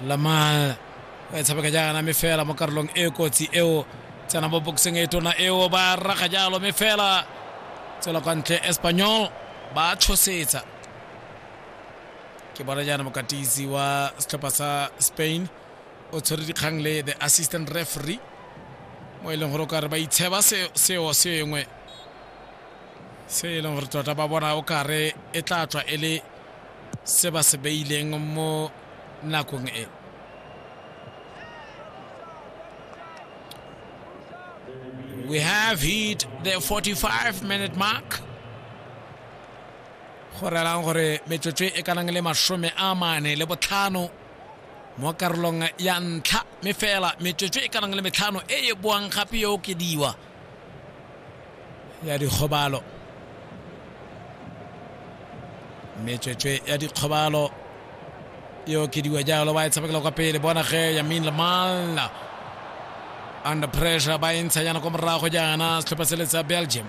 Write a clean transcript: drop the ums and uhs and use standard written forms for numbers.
Lamal e tshameka jaana mme fela mo karolong e kotsi eo tsena mo boxeng e tona eo ba raga jalo mme fela tswela kwa ntle Espanyol ba tshosetsa. Ke bona jaana mokatisi wa setlhopha sa Spain o tshwere dikgang le the assistant referee mo e leng gore o kare ba itsheba seo sengwe se e leng gore tota ba bona o kare e tla tswa e le se ba se beileng mo nakong e. We have hit the 45 minute mark. Go relang gore metsotso e kanang le 45 mo karolong ya ntlha mme fela metsotso e kanang le 5 e e boang gape e okediwa ya dikgobalo. Metsotso ya dikgobalo e okediwa jalo, ba e tshamekela kwa pele. Bona ge Yamin Lamal under pressure, ba e ntsha jaana kwa morago jaana setlhopha se le sa Belgium.